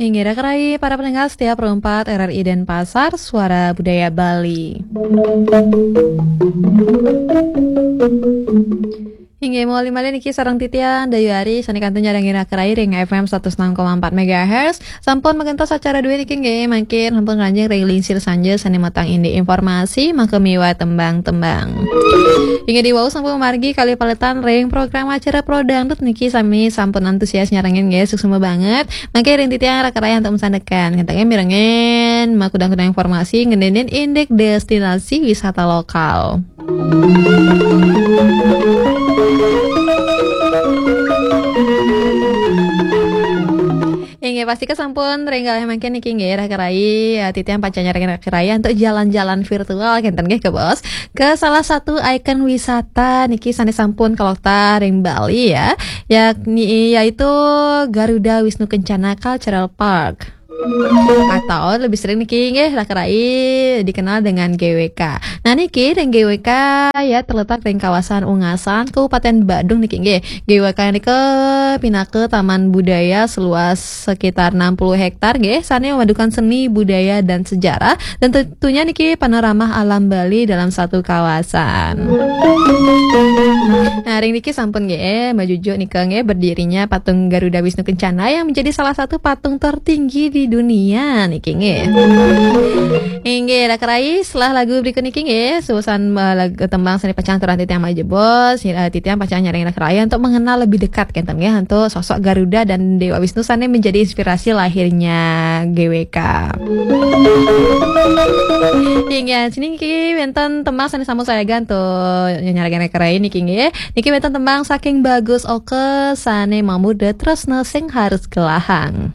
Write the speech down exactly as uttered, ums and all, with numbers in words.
Inggih, raka rai para pendengar setia Pro empat R R I Denpasar, Suara Budaya Bali. Inggih, malih-malih niki sareng titiang Dayu Ari, sané kantun nyarengin raka rai ring F M satus enam koma empat megahertz. Sampun magentos acara dué niki nggih, mangkin sampun ngranjing ring lingsir sanja sané matang indik informasi, maka miwah tembang-tembang. Inggih, diwau sampun margi kalih paletan ring program acara Pro Dangdut niki, sami sampun antusias nyarengin nggih, suksma banget. Mangke ring titiang raka rai antuk masandekan. Ngentengin mirengin makudang-kudang informasi ngeninin indik destinasi wisata lokal. Inggih, pastika sampun ring galih mangkin niki nggih, raka rai, ya, titiang pacang nyarengin raka rai antuk jalan-jalan virtual, kénten nggih, Kak Bos, ke salah satu ikon wisata niki sané sampun kaloktah ring Bali, ya, yakni, yaitu Garuda Wisnu Kencana Cultural Park. Atau lebih sering niki nggih, raka rai, dikenal dengan G W K. Nah, niki ring G W K, ya, terletak ring kawasan Ungasan, Kabupaten Badung niki nggih. G W K nika pinaka taman budaya seluas sekitar enam puluh hektar nggih, sané memadukan seni, budaya, dan sejarah, dan tentunya niki panorama alam Bali dalam satu kawasan. Nah, ring niki sampun nggih, majujuk nika nggih, berdirinya patung Garuda Wisnu Kencana yang menjadi salah satu patung tertinggi di dunia niki nggih. Inggih, raka rai, setelah lagu berikut niki nggih, susunan, eh, lagu tembang sané pacang aturang titiang malih jebos, eh, titiang pacang nyarengin raka rai untuk mengenal lebih dekat, kénten nggih, antuk sosok Garuda dan Dewa Wisnu sané menjadi inspirasi lahirnya G W K. Inggih, sini niki wénten tembang sané sampun sayaga antuk nyarengin raka rai niki nggih. Niki wénten tembang saking Bagus Oka sané mamurda Tresna Sing Harus Gelahang.